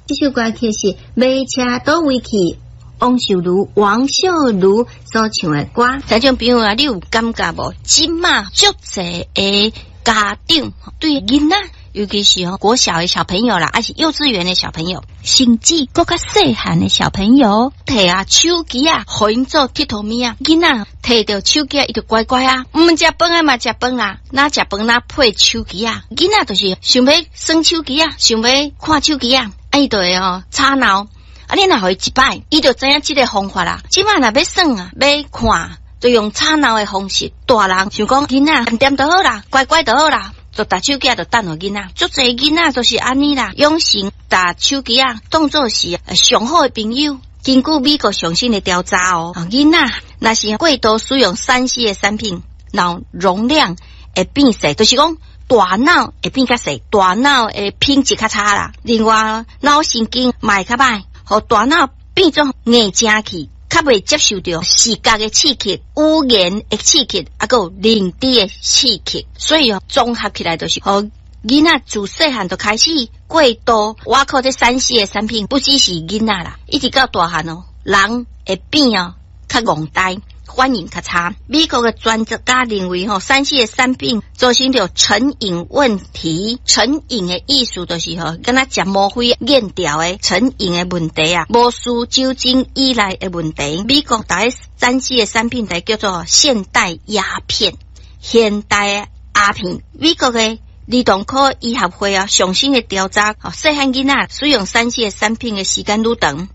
這首歌曲是《馬車佗位去》，王秀茹、王秀茹所唱的歌。聽眾朋友啊，你有感覺無？這馬足濟的家長對囡仔，尤其是吼國小的小朋友啦，抑是幼稚園的小朋友，甚至閣較細漢的小朋友，提啊手機啊，予𪜶做𨑨迌物仔，囡仔提著手機啊，伊就乖乖啊，毋食飯的嘛食飯啦，若食飯若配手機仔，囡仔就是想欲耍手機仔，想欲看手機仔，啊伊就會吼吵鬧。啊你若予伊一擺，伊就知影這个方法啦。這馬若欲耍啊，欲看，就用吵鬧的方式。大人想講囡仔恬恬就好啦，乖乖就好啦，就沓手機仔就擲予囡仔。足濟囡仔都是按呢啦，養成沓手機仔當做是上好的朋友。根據美國上新的調查哦，囡仔若是過度使用3C 的產品，腦容量會變細，就是講大腦會變較細，大腦的品質較差啦。另外，腦神經嘛會較歹。予大腦變做硬正去，較袂接受著視覺的刺激、語言的刺激，抑閣有認知的刺激。所以哦，綜合起來就是，予囡仔自細漢就開始過度倚靠這3C 的產品，不只是囡仔啦，一直到大漢哦，人會變哦較戇呆，反應較差。美國的專家認為吼，3C 的產品造成著成癮問題。成癮的意思就是吼，敢若食嗎啡癮著的成癮的問題啊，無需酒精依賴的問題。美國逐3C 的產品，就叫做現代鴉片，現代鴉片。美國的兒童科醫學會啊，上新的調查，細漢囡仔使用3C 的產品的時間愈長，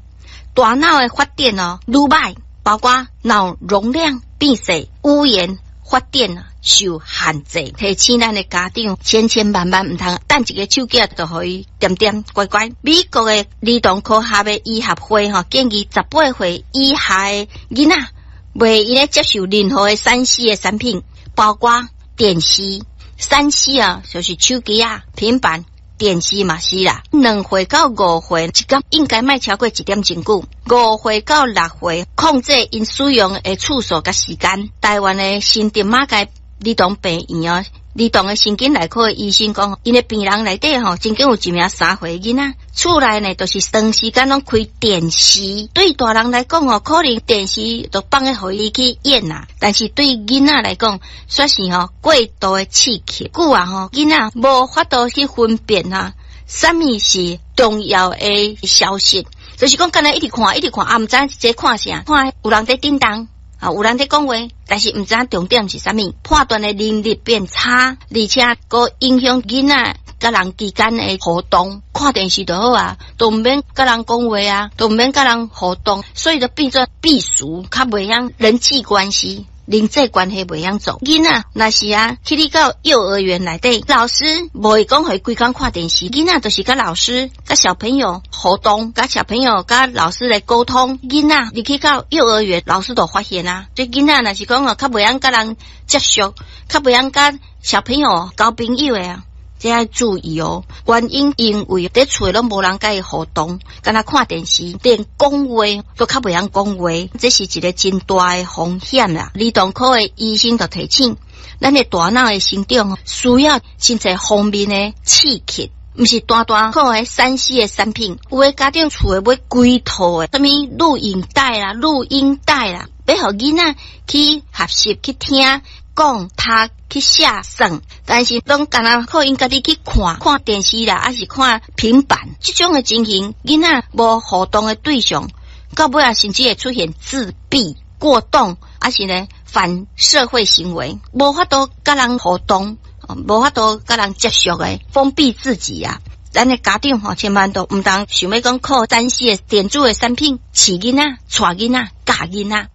大腦的發展哦愈䆀。包括腦容量變細、語言發展受限制。提醒咱的家長，千千萬萬毋通擲一个手機就予伊恬恬乖乖。美國的兒童科學的醫學會吼建議18歲以下的囡仔，袂用得接受任何的3C 的產品，包括電視。3C 啊，就是手機仔、平板、電視嘛是啦。2歲到5歲，一工應該莫超過一點鐘久。5歲到6歲，控制𪜶使用的次數佮時間。台灣的新竹馬偕兒童病院哦，兒童的神經內科的醫生講，𪜶的病人內底吼，曾經有一名3歲囡仔，厝內呢都是長時間攏開電視。對大人來講哦，可能電視都放咧予伊去演啦，但是對囡仔來講，煞是吼過度的刺激。久啊吼，囡仔無法度去分辨啊，啥物是重要的消息。就是講，敢若一直看，一直看，啊，毋知這看啥，看有人佇叮當，啊，有人佇講話，但是毋知影重點是啥物，判斷的能力變差，而且閣影響囡仔佮人之間的互動。看電視就好啊，都毋免佮人講話啊，都毋免佮人互動，所以就變做閉俗，較袂曉人際關係。人際關係袂曉做，囡仔若是啊，去你到幼兒園內底，老師無會講予伊規工看電視，囡仔就是佮老師、佮小朋友互動，佮小朋友、佮老師來溝通。囡仔入去到幼兒園，老師就發現啊，這囡仔若是講哦，較袂曉佮人接觸，較袂曉佮小朋友交朋友的啊。這愛注意哦，原因因為佇厝攏無人佮伊互動，干焦看電視，連講話都較袂曉講話，這是一个真大的風險啦。兒童科的醫生就提醒，咱的大腦的成長需要真濟方面的刺激，毋是單單靠彼3C 的產品。有的家長厝內買規套的，啥物錄影帶啦、錄音帶啦，欲予囡仔去學習去聽。講、讀、去寫、算，但是攏干焦靠𪜶家己去看看電視啦，抑是看平板，這種的情形，囡仔無互動的對象，到尾仔甚至會出現自閉、過動，抑是呢反社會行為，無法度佮人互動，無法度佮人接觸的，封閉自己啊。咱的家長吼，千萬都毋通想欲講靠3C 的電子的產品飼囡仔、帶囡仔、教囡仔。